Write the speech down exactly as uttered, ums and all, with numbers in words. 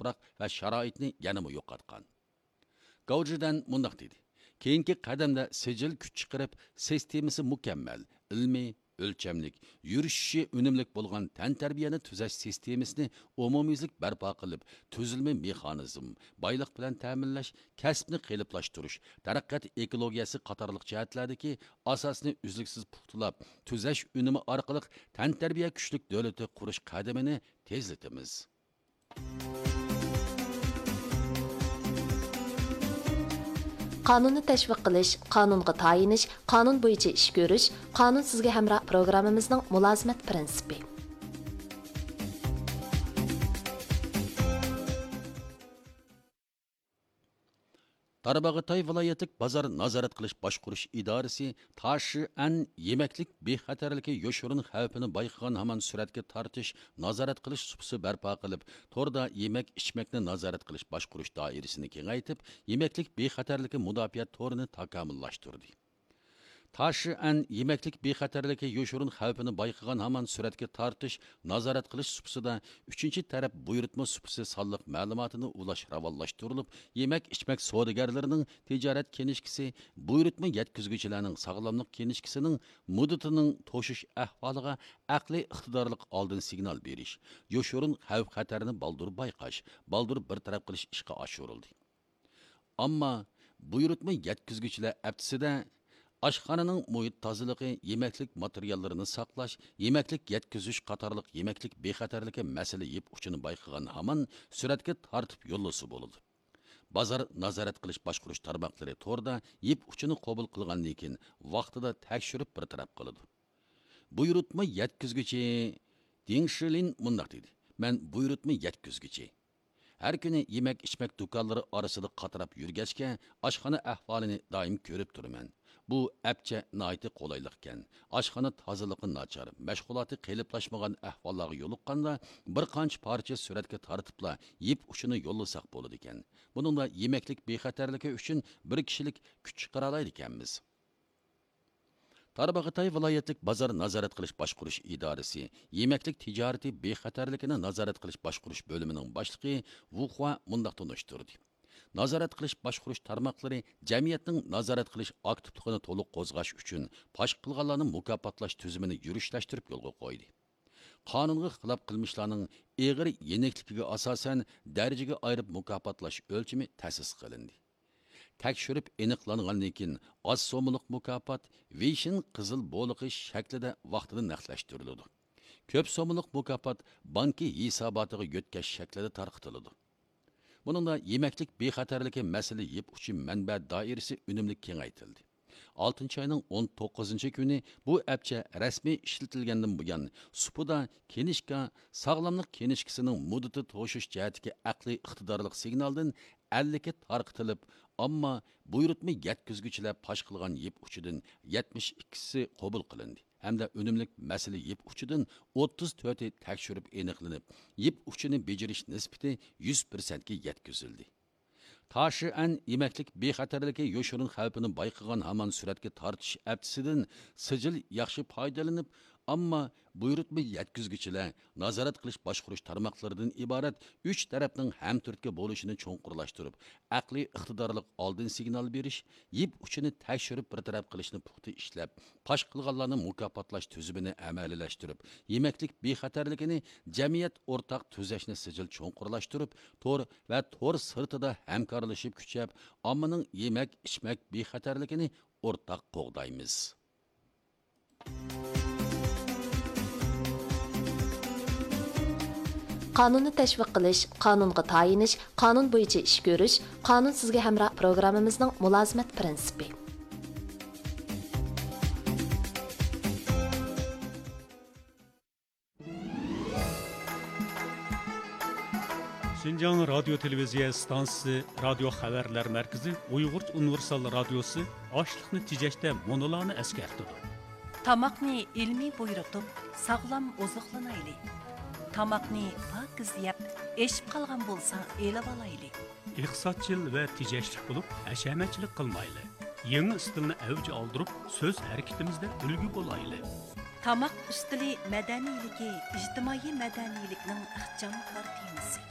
تۇپراق ۋە شارائىتنى يەنىمۇ يوقاتقان. گاۋجىدەن مۇنداق دېدى: كېيىنكى قەدەمدە سىجىل كۈچ چىقىرىپ، سىستېمىسى مۇكەممەل، ئىلمىي، ئۆلچەملىك، يۈرۈشۈشى ئۈنۈملۈك بولغان تەنتەربىيەنى تۈزەش سىستېمىسىنى ئومۇميۈزلۈك بەرپا قىلىپ، تۈزۈلمە مېخانىزم، بايلىق بىلەن تەمىنلەش، كەسىپنى قېلىپلاشتۇرۇش، تەرەققىيات ئېكولوگىيەسى قاتارلىق جەھەتلەردىكى ئاساسنى ئۈزلۈكسىز پۇختىلاپ، تۈزەش ئۈنۈمى ئارقىلىق تەنتەربىيە كۈچلۈك دۆلىتى قۇرۇش قەدىمىنى تېزلىتىمىز. قانۇننى تەشۋىق قىلىش، قانۇنغا تايىنىش، قانۇن بويىچە ئىش كۆرۈش، قانۇن سىزگە ھەمراھ پروگراممىمىزنىڭ مۇلازىمەت پىرىنسىپى. تارباغاتاي ۋىلايەتلىك بازار نازارەت قىلىش باشقۇرۇش ئىدارىسى تاشىئەن يېمەكلىك بىخەتەرلىكى يوشۇرۇن خەۋپىنى بايقىغان ھامان سۈرەتكە تارتىش نازارەت قىلىش سۇپىسى بەرپا قىلىپ، توردا يېمەك ئىچمەكنى نازارەت قىلىش باشقۇرۇش دائىرىسىنى كېڭەيتىپ، يېمەكلىك بىخەتەرلىكى مۇداپىئە تورىنى تاكامۇللاشتۇردى. تاشىئەن يېمەكلىك بىخەتەرلىكى يوشۇرۇن خەۋپىنى بايقىغان ھامان سۈرەتكە تارتىش، نازارەت قىلىش سۇپىسىدا ئۈچىنچى تەرەپ بۇيرۇتما سۇپىسى سانلىق مەلۇماتىنى ئۇلاش راۋانلاشتۇرۇلۇپ، يېمەك ئىچمەك سودىگەرلىرىنىڭ تىجارەت كىنىشكىسى، بۇيرۇتما يەتكۈزگۈچىلەرنىڭ ساغلاملىق كىنىشكىسىنىڭ مۇددىتىنىڭ توشۇش ئەھۋالىغا ئەقلىي ئىقتىدارلىق ئالدىن سىگنال بېرىش، يوشۇرۇن خەۋپ خەتەرنى بالدۇر بايقاش، بالدۇر بىر تەرەپ قىلىش ئىشقا ئاشۇرۇلدى. ئامما بۇيرۇتما يەتكۈزگۈچىلەر ھەپتىسىدە ئاشخانىنىڭ مۇھىت تازىلىقى، يېمەكلىك ماتېرىياللىرىنى ساقلاش، يېمەكلىك يەتكۈزۈش قاتارلىق يېمەكلىك بىخەتەرلىكى مەسىلە يىپ ئۇچىنى بايقىغان ھامان سۈرەتكە تارتىپ يوللىسا بولىدۇ. بازار نازارەت قىلىش باشقۇرۇش تارماقلىرى توردا يىپ ئۇچىنى قوبۇل قىلغاندىن كېيىن ۋاقتىدا تەكشۈرۈپ بىر تەرەپ قىلىدۇ. بۇيرۇتما يەتكۈزگۈچى دىڭ شىلىن مۇنداق دېدى: مەن بۇيرۇتما يەتكۈزگۈچى. ھەر كۈنى يېمەك-ئىچمەك دۇكانلىرى ئارىسىدا قاتراپ يۈرگەچكە، ئاشخانا ئەھۋالىنى دائىم كۆرۈپ تۇرىمەن. بۇ ئەپچە ناھايىتى قولايلىقكەن. ئاشخانا تازىلىقى ناچار، مەشغۇلاتى قېلىپلاشمىغان ئەھۋاللارغا يولۇققاندا، بىر قانچە پارچە سۈرەتكە تارتىپلا يىپ ئۇچىنى يوللىساق بولىدىكەن. بۇنىڭدا يېمەكلىك بىخەتەرلىكى ئۈچۈن بىر كىشىلىك كۈچ چىقىرالايدىكەنمىز. تارباغاتاي ۋىلايەتلىك بازار نازارەت قىلىش باشقۇرۇش ئىدارىسى يېمەكلىك تىجارىتى بىخەتەرلىكىنى نازارەت قىلىش باشقۇرۇش بۆلۈمىنىڭ باشلىقى ۋۇخۇا مۇنداق تونۇشتۇردى: نازارەت قىلىش باشقۇرۇش تارماقلىرى جەمئىيەتنىڭ نازارەت قىلىش ئاكتىپلىقىنى تولۇق قوزغاش ئۈچۈن پاش قىلغانلارنى مۇكاپاتلاش تۈزۈمىنى يۈرۈشلەشتۈرۈپ يولغا قويدى. قانۇنغا خىلاپ قىلمىشلارنىڭ ئېغىر يېنىكلىكىگە ئاساسەن دەرىجىگە ئايرىپ مۇكاپاتلاش ئۆلچىمى تەسىس قىلىندى. تەكشۈرۈپ ئېنىقلانغاندىن كېيىن، ئاز سوممىلىق مۇكاپات ۋېيشىن قىزىل بولىقى شەكلىدە ۋاقتىدا نەقلەشتۈرۈلىدۇ. كۆپ سوممىلىق مۇكاپات بانكا ھېساباتىغا يۆتكەش شەكلىدە تارقىتىلىدۇ. بۇنىڭدا يېمەكلىك بىخەتەرلىكى مەسىلە يىپ ئۇچى مەنبە دائىرىسى ئۈنۈملۈك كېڭەيتىلدى. ئالتىنچى ئاينىڭ ئون توققۇزىنچى كۈنى بۇ ئەپچە رەسمىي ئىشلىتىلگەندىن بۇيان، سۇپىدا كىنىشكا، ساغلاملىق كىنىشكىسىنىڭ مۇددىتى توشۇش جەھەتتىكى ئەقلىي ئىقتىدارلىق سىگنالدىن ئەللىكى تارقىتىلىپ، ئامما بۇيرۇتما يەتكۈزگۈچىلەر پاش قىلغان يىپ ئۇچىدىن يەتمىش ئىككىسى قوبۇل قىلىندى ھەمدە ئۈنۈملۈك مەسىلە يىپ ئۇچىدىن ئوتتۇز تۆتى تەكشۈرۈپ ئېنىقلىنىپ، يىپ ئۇچىنى بېجىرىش نىسبىتى يۈز پىرسەنتكە يەتكۈزۈلدى. تاشىئەن يېمەكلىك بىخەتەرلىكى يوشۇرۇن خەۋپىنى بايقىغان ھامان سۈرەتكە تارتىش ھەپتىسىدىن سىجىل ياخشى پايدىلىنىپ، ئامما بۇيرۇتما يەتكۈزگۈچىلەر، نازارەت قىلىش باشقۇرۇش تارماقلىرىدىن ئىبارەت ئۈچ تەرەپنىڭ ھەمتۈرتكە بولۇشىنى چوڭقۇرلاشتۇرۇپ، ئەقلىي ئىقتىدارلىق ئالدىن سىگنال بېرىش، يىپ ئۇچىنى تەكشۈرۈپ بىر تەرەپ قىلىشنى پۇختا ئىشلەپ، پاش قىلغانلارنى مۇكاپاتلاش تۈزۈمىنى ئەمەلىيلەشتۈرۈپ، يېمەكلىك بىخەتەرلىكىنى جەمئىيەت ئورتاق تۈزەشنى سىجىل چوڭقۇرلاشتۇرۇپ، تور ۋە تور سىرتىدا ھەمكارلىشىپ كۈچەپ، ئاممىنىڭ يېمەك، ئىچمەك بىخەتەرلىكىنى ئورتاق قوغدايمىز. قانۇننى تەشۋىق قىلىش، قانۇنغا تايىنىش، قانۇن بويىچە ئىش كۆرۈش، قانۇن سىزگە ھەمراھ پروگراممىمىزنىڭ مۇلازىمەت پىرىنسىپى. شىنجاڭ رادىيو تېلېۋىزىيە ئىستانسىسى رادىيو خەۋەرلەر مەركىزى ئۇيغۇرچە ئۇنىۋېرسال رادىيوسى ئاشلىقنى تېجەشتە مۇنۇلارنى ئەسكەرتىدۇ. تاماقنى ئىلمىي بۇيرۇتۇپ، ساغلام ئوزۇقلىنايلى. تاماقنى پاكىز يەپ، ئېشىپ قالغان بولسا ئېلىۋالايلى. ئىقتىسادچىل ۋە تېجەشلىك بولۇپ، ھەشەمەتچىلىك قىلمايلى. يېڭى ئىستىلنى ئەۋج ئالدۇرۇپ، سۆز ھەرىكىتىمىزدە ئۈلگە بولايلى. تاماق ئۈستىلى مەدەنىيلىكى ئىجتىمائىي مەدەنىيلىكنىڭ ئىخچام كارتىنىسى.